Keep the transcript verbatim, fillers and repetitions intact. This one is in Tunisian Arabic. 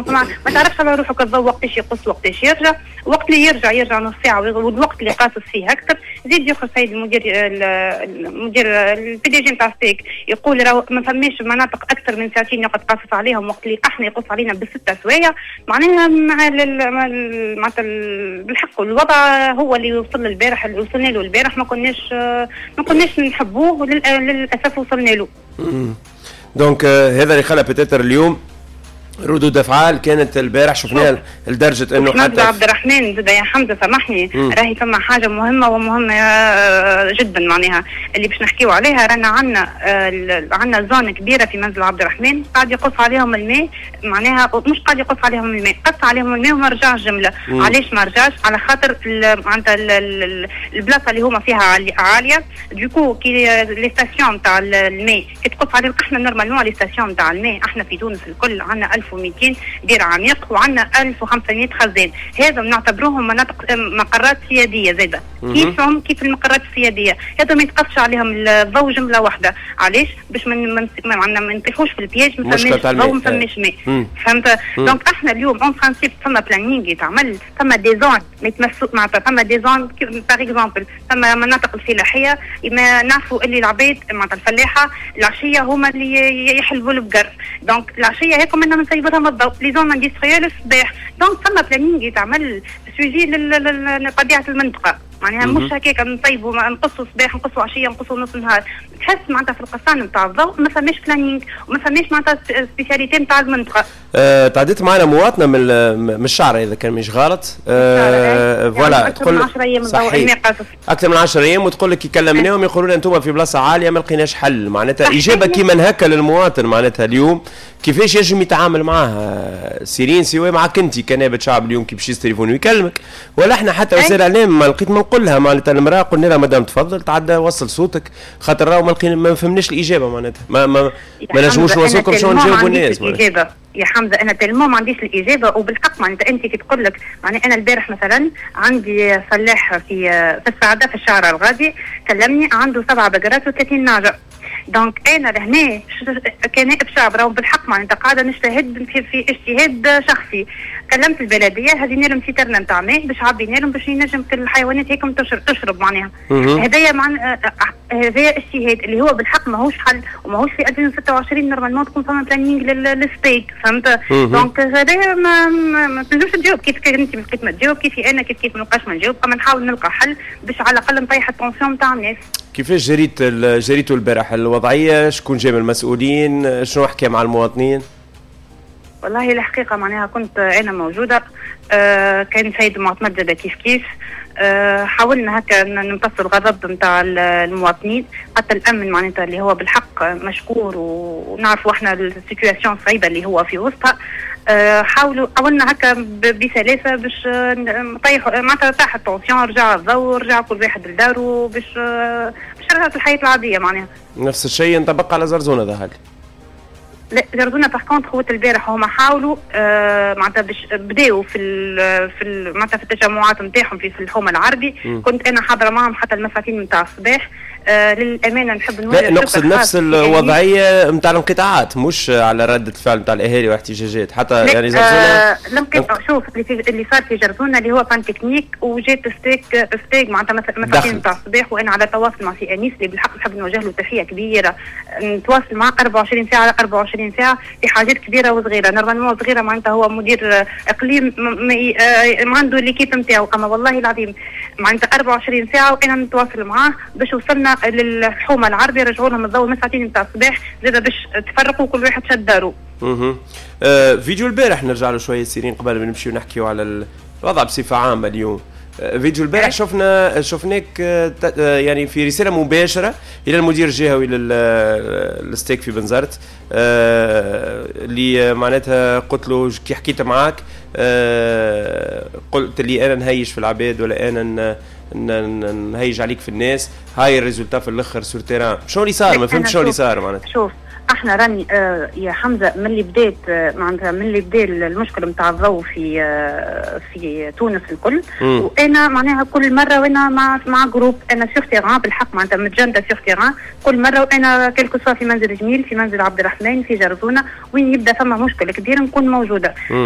ما, ما تعرفش على روحك الضوء وقتاش يقص، وقتاش يرجع. وقت اللي يرجع يرجع نص ساعه، والوقت اللي قاصص فيه اكثر. زيد يخرج سيد المدير، المدير ال PDG نتاع STEG، يقول راهو ما فماش مناطق اكثر من ساعتين يقعد قاصص عليهم، وقت اللي احنا يقص علينا بستة سوايع. معناها مع معناتها بالحق الوضع هو اللي وصل البارح، اللي وصلنا له البارح ما كناش ما كناش نحبوه، وللاسف وصلنا له. donc هذا اللي خلى peut-être اليوم ردود افعال كانت البارح شفناها لدرجة انه حتى عبد الرحمن زاد يا حمزه، سامحني، راهي فما حاجة مهمة ومهمة جدا معناها اللي باش نحكيو عليها. رانا عندنا عندنا zone كبيرة في منزل عبد الرحمن قاعد يقص عليهم الماء، معناها مش قاعد يقص عليهم الماء، قص عليهم الماء وما رجعش جمله. علاش ما رجعش؟ على خاطر معناتها البلاصة اللي هما فيها عاليه، du coup كي les stations تاع الماء كي تقص عليهم، احنا normalement les stations تاع الماء احنا في تونس الكل عندنا ألف ومئتين بير عميق وعندنا ألف وخمسمية خزان، هذا نعتبروهم مناطق مقرات سيادية زاده كيفهم كيف المقرات السياديه. هذا ما يتقصش عليهم الضوء جملة واحده. علاش؟ باش من من ما نطيحوش في ال piège، ما فماش ضوء، ما فماش ماء، فهمت؟ donc احنا اليوم en principe فما planning يتعمل، فما des zones ما يتمسوا، معناتها فما des zones par exemple فما مناطق الفلاحيه، ما نعرفوا اللي العباد معناتها الفلاحة العشية هما اللي يحلبوا البقر، donc العشية هيك منا نسيبوا لهم الضوء، les zones industrielles الصباح. donc فما planning يتعمل suivi لطبيعة المنطقه، معناها مش هكاك نطيبوا، نقصوا صباح، نقصوا عشيه، نقصوا نص نهار. تحس معناتها في القصان نتاع الضوء ما فماش planning وما فماش معناتها spécialité نتاع المنطقه. أه تعديت معنا مواطنه من من الشعر اذا كان مش غلط. أه voilà، يعني اكثر من عشرة ايام. صحيح، اكثر من عشرة ايام، وتقول لك كلمناهم يقولوا لنا انتم في بلاصة عاليه، ما لقيناش حل. معناتها اجابه كيما هكا للمواطن، معناتها اليوم كيفاش يجم يتعامل معاها سيرين؟ سواء معك انت كنائبة شعب اليوم كي باش تليفون ويكلمك، ولا احنا حتى وسائل الاعلام، ما لقيت ما نقول لها. معناتها المراة قلنا لها مدام تفضل تعدى وصل صوتك، خاطر راهو ما لقينا، ما فهمناش الاجابه، معناتها ما ما, ما نجموش نوصلكم شنو نجاوبوا الناس. الاجابة يا حمزة انا tellement ما عنديش الاجابه، وبالحق معناتها انت كي تقول لك معناها انا البارح مثلا عندي فلاح في في السعادة في الشارع الغادي كلمني، عنده سبعة بقرات وثلاثين نعجه. donc انا لهنا كنائب شعب راهو بالحق معناتها قاعدة نجتهد في, في اجتهاد شخصي، كلمت البلديه، هزينا لهم citerne نتاع ماء باش عبينا لهم باش ينجم كل الحيوانات هيك تشرب, تشرب معناها هذايا مع هذايا اجتهاد اللي هو بالحق ماهوش حل، وماهوش في ألفين وستة وعشرين normalement تكون فما planning لل STEG، فهمت؟ donc هذايا ما, ما, ما تنجمش تجاوب كيف انت ما لقيت ما تجاوب، كيفي انا كيف كيف ما نلقاش ما نجاوب، اما نحاول نلقى حل باش على الاقل نطيح ال tension نتاع الناس. كيفاش جريت جريتوا البارح الوضعيه؟ شكون جاب المسؤولين؟ شنو حكى مع المواطنين؟ والله الحقيقة معناها كنت انا موجوده، آه كان سيد معتمد زاد كيف كيف. آه حاولنا هكا نمتص الغضب نتاع المواطنين، حتى الامن معناتها اللي هو بالحق مشكور ونعرفوا احنا ال situation صعيبة اللي هو في وسطها. آه حاولوا حاولنا هكا بسلاسة باش نطيحوا معناتها طاح ال tension، رجع الضوء، رجع كل واحد لدارو باش باش رجعت الحياة العادية معناها. نفس الشيء ينطبق على زرزونه ظهر؟ لا، زرزونه par contre هو البارح هما حاولوا آه معناتها باش بداوا في ال في ال معناتها في التجمعات نتاعهم في, في الحومه العربي. م. كنت انا حاضره معهم حتى المساعتين نتاع الصباح. آه للامانة نحب نقول لا، نقصد نفس الوضعية نتاع الانقطاعات، مش على رده الفعل نتاع الاهالي واحتجاجات حتى يعني زرزونه. آه الانقطاع، شوف اللي, اللي صار في جرزونه اللي هو panne technique وجات STEG STEG معناتها مساعتين نتاع الصباح، وانا على تواصل مع سي انيس اللي بالحق نحب نوجه له تحية كبيره، نتواصل معه أربعة وعشرين ساعة على أربعة وعشرين ساعة في حاجات كبيرة وصغيره. normalement صغيرة معناتها هو مدير اقليم آه، عنده l'équipe نتاعو، اما والله العظيم معناتها أربعة وعشرين ساعة وانا نتواصل معاه باش وصلنا للحومه العربي، رجعوا لهم الضوء من ساعتين نتاع الصباح زاد باش تفرقوا، كل واحد شد دارو. اها آه فيديو البارح نرجع له شوية سيرين قبل ما نمشيو نحكيو على الوضع بصفة عامة اليوم. آه، فيديو البارح شفنا شفناك آه، آه، يعني في رسالة مباشرة الى المدير الجهوي لل STEG في بنزرت، اللي معناتها قلت له كي حكيت معاك قلت لي انا نهيج في العباد ولا انا نهيج عليك في الناس، هاي ال résultat في الاخر sur terrain. شنو اللي صار؟ ما فهمت شنو اللي صار معناتها. شوف، احنا راني آه يا حمزة من اللي بدات آه معناتها من اللي بدا المشكلة نتاع الضوء في آه في تونس الكل مم. وانا معناها كل مرة وانا مع مع groupe، انا sur terrain بالحق معناتها متجنده sur terrain كل مره، وانا quelque soit في منزل جميل، في منزل عبد الرحمن، في جرزونه، وين يبدا فما مشكلة كبيرة نكون موجوده. مم.